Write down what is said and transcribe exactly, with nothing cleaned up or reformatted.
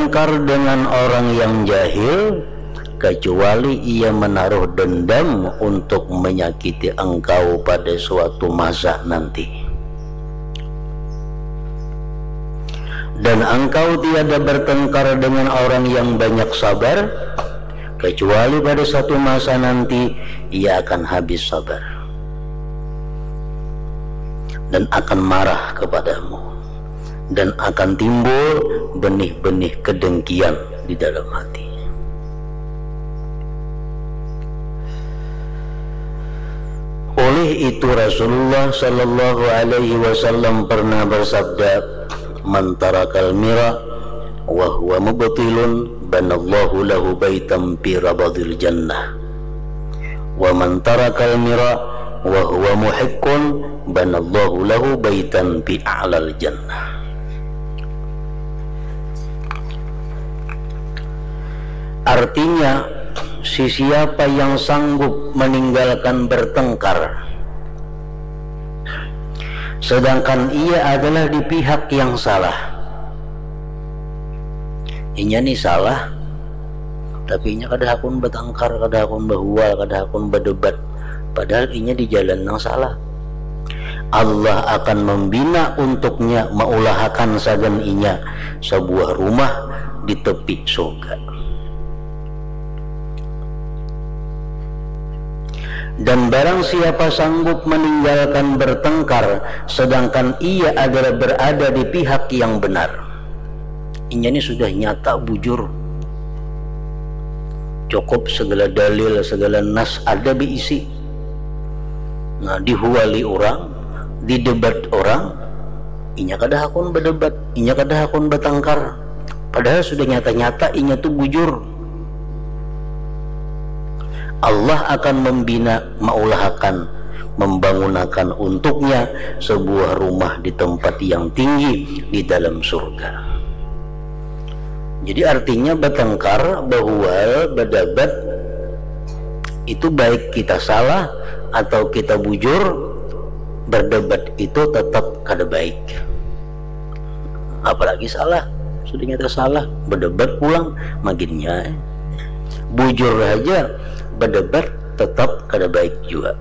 bertengkar dengan orang yang jahil, kecuali ia menaruh dendam untuk menyakiti engkau pada suatu masa nanti. Dan engkau tiada bertengkar dengan orang yang banyak sabar, kecuali pada satu masa nanti ia akan habis sabar dan akan marah kepadamu, dan akan timbul benih-benih kedengkian di dalam hati. Oleh itu, Rasulullah sallallahu alaihi wasallam pernah bersabda, "Man tarakal mira wa huwa mubtilun, banallahu lahu baitan fi rabadil jannah. Wa man tarakal mira wa huwa muhiqqun, banallahu lahu baitan fi a'lal jannah." Artinya, sesiapa yang sanggup meninggalkan bertengkar, sedangkan ia adalah di pihak yang salah. Inya ni salah, tapi inya kada hakun batangkar, kada hakun bahual, kada hakun badebat. Padahal inya di jalan nang salah. Allah akan membina untuknya, maulahakan sagan inya sabuah rumah di tepi surga. Dan barang siapa sanggup meninggalkan bertengkar, sedangkan ia adalah berada di pihak yang benar. Inya ni sudah nyata bujur. Cukup segala dalil, segala nas ada beisi. Nah, dihuali orang, didebat orang, inya kada hakun berdebat, inya kada hakun bertengkar. Padahal sudah nyata-nyata inya tu bujur. Allah akan membina, maulahakan, membangunakan untuknya sebuah rumah di tempat yang tinggi di dalam surga. Jadi artinya bertengkar, bahual, berdebat itu baik kita salah atau kita bujur, berdebat itu tetap kada baik. Apalagi salah, sudah nyata salah, berdebat pulang, maginnya. Bujur aja, berdebat tetap kada baik juga.